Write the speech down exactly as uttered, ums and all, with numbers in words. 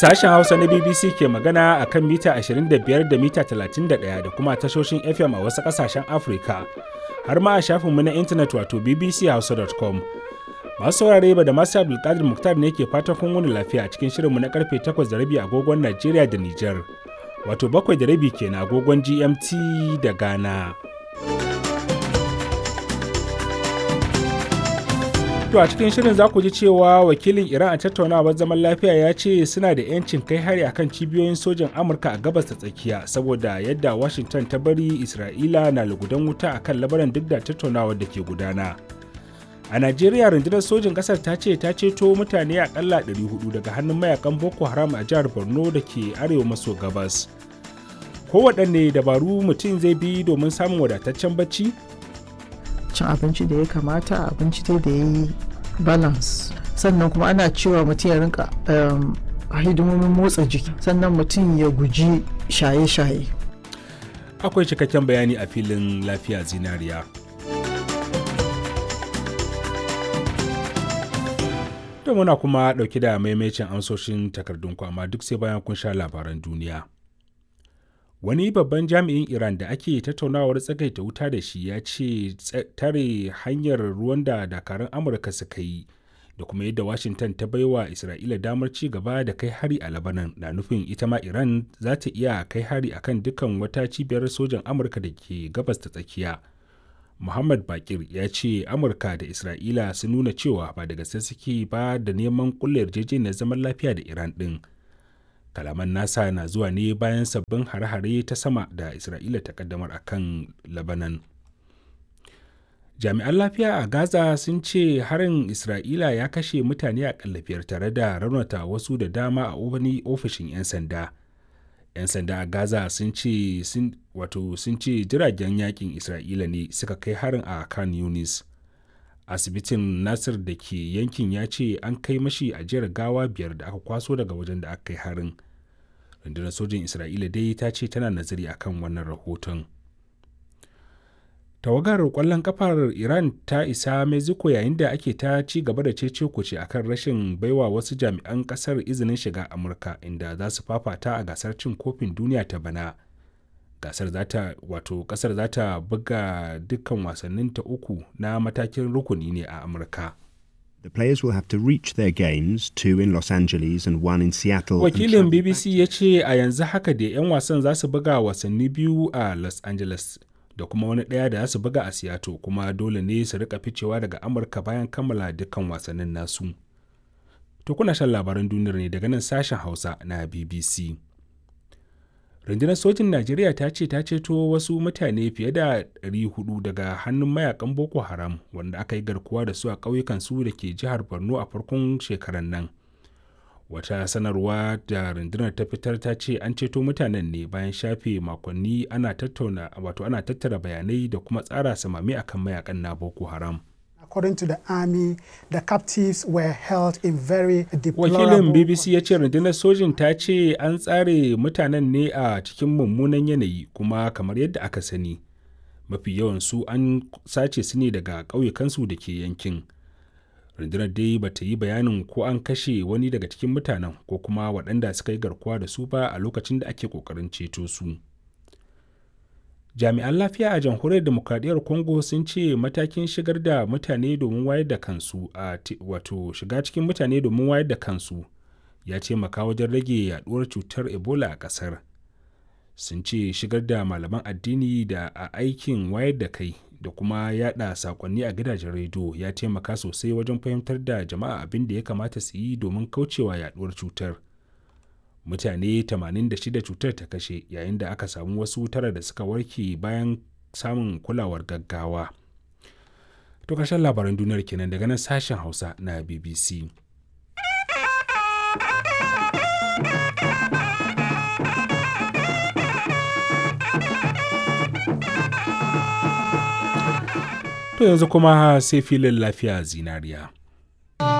Sashen Hausa na B B C ke magana a kan mita ashirin da biyar da mita talatin da ɗaya da kuma tashoshin F M a wasu ƙasashen Afirka, har ma a shafinmu na intanet wato B B C hausa dot com. Masu saurare, ba da masu Abdulkadir Muktar ne ke fatan kun wani lafiya a cikin shirinmu na karfe takwas da rabi agogon Najeriya da Nijar, wato bakwai da rabi kenan agogon G M T da Ghana. To, a cikin shirin za ku ji cewa wakilin Iran a tattaunawar zaman lafiya ya ce suna da 'yancin kai hari akan cibiyoyin sojan Amurka a Gabas ta Tsakiya saboda yadda Washington ta bari Isra'ila na lugudan wuta akan labaran duk da tattaunawar da ke gudana. A Najeriya, rundunar sojin ƙasar ta ce ta ceto mutane akalla ɗari huɗu daga hannun mayakan Boko Haram a jihar Borno da ke arewa maso gabas. Kowaɗanne dabaru mutum zai bi domin samun wadataccen bacci? Cin abinci da ya kamata, abinci dai da ya yi balance, sannan kuma ana cewa mutum ya rinka hidimomin motsa jiki, sannan mutum ya guji shaye-shaye. Akwai cikakken bayani a filin Lafiya Zinariya. To, muna kuma ɗauki da maimacin amsoshin takardun amma duk sai bayan kun sha labaran duniya. Wani babban jami'in Iran da ake tattaunawar tsagaita wuta da shi ya ce tare hanyar ruwan da dakarun Amurka suka yi da kuma yadda Washington ta baiwa Isra'ila damar ci gaba da kai hari a Labanan na nufin ita ma Iran za ta iya kai hari akan dukkan wata cibiyar sojan Amurka da ke Gabas ta Tsakiya. Muhammad Bakir ya ce Amurka da Isra'ila sun nuna cewa ba da gaske suke ba da neman kulle yarjejeniyar zaman lafiya da Iran din. Kalaman nasa na zuwa ne bayan sabbin hare-hare ta sama da Isra'ila ta kaddamar a kan Labanan. Jami'an lafiya a Gaza sun ce harin Isra'ila ya kashe mutane a biyar tare da raunata wasu da dama a wani ofishin 'yan sanda. 'Yan sanda a Gaza sun ce wato sun ce jiragen yakin Isra'ila ne suka kai harin a Kan Yunis. Asibitin Nasir da ke yankin ya ce an kai mashi ajiyar gawa biyar da aka kwaso daga wajen da aka kai harin. Rundunar sojin Isra'ila dai ta ce tana nazari akan wannan rahoton. Tawagar kwallon kafar Iran ta isa Mexico yayin da ake ta ci gaba da cece kuce akan rashin baiwa wasu jami'an kasar izinin shiga Amurka, inda za su fafata a gasar cin kofin duniya ta bana. Gasar za ta wato kasar za ta buga dukkan wasannin ta uku na matakin rukuni ne a Amurka. The players will have to reach their games, two in Los Angeles and one in Seattle. Wakilin B B C ya ce a yanzu haka da 'yan wasan za su buga wasanni biyu a Los Angeles da kuma wani ɗaya da za su buga a Seattle, kuma dole ne su rika ficewa daga Amurka bayan kammala dukkan wasannin nasu. To, kuna shan labaran duniyar ne daga nan sashen Hausa na B B C. Rundunar sojin Najeriya ta ce ta ceto wasu mutane fiye da ɗari huɗu daga hannun mayakan Boko Haram wanda aka yi garkuwa da su a ƙauyukan su da ke jihar Borno a farkon shekarar nan. Wata sanarwa da rundunar ta fitar ta ce an ceto mutanen ne bayan shafe makonni ana tattauna wato ana tattara bayanai da kuma tsara samami akan mayakan na Boko Haram. According to the army, the captives were held in very deplorable. Wakilin B B C ya ce rundunar sojin ta ce an tsare mutanen ne a cikin mummunan yanayi, kuma kamar yadda aka sani, mafi yawan su an sace su ne daga ƙauyukansu da ke yankin. Rundunar dai ba ta yi bayanin ko an kashe wani daga cikin mutanen ko kuma waɗanda suka yi garkuwa da su ba a lokacin da ake ƙoƙarin ceto su. Jami'an lafiya a Jamhuriyar Demokradiyyar Congo sun ce matakin shigar da mutane domin wayar da kansu a wato shiga cikin mutane domin wayar da kansu ya taimaka wajen rage yaduwar cutar Ebola a kasar. Sun ce shigar da malaman addini da a aikin wayar da kai da kuma yada sakonni a gidajen rediyo ya taimaka sosai wajen fahimtar da jama'a abin da ya kamata su yi domin kaucewa yaduwar cutar. Mutane tamanin da shida cutar ta kashe, yayin da aka samu wasu tara da suka warke bayan samun kulawar gaggawa. To, karshen labaran duniyar kenan daga nan sashen Hausa na B B C. To, yanzu kuma sai filin Lafiya Zinariya.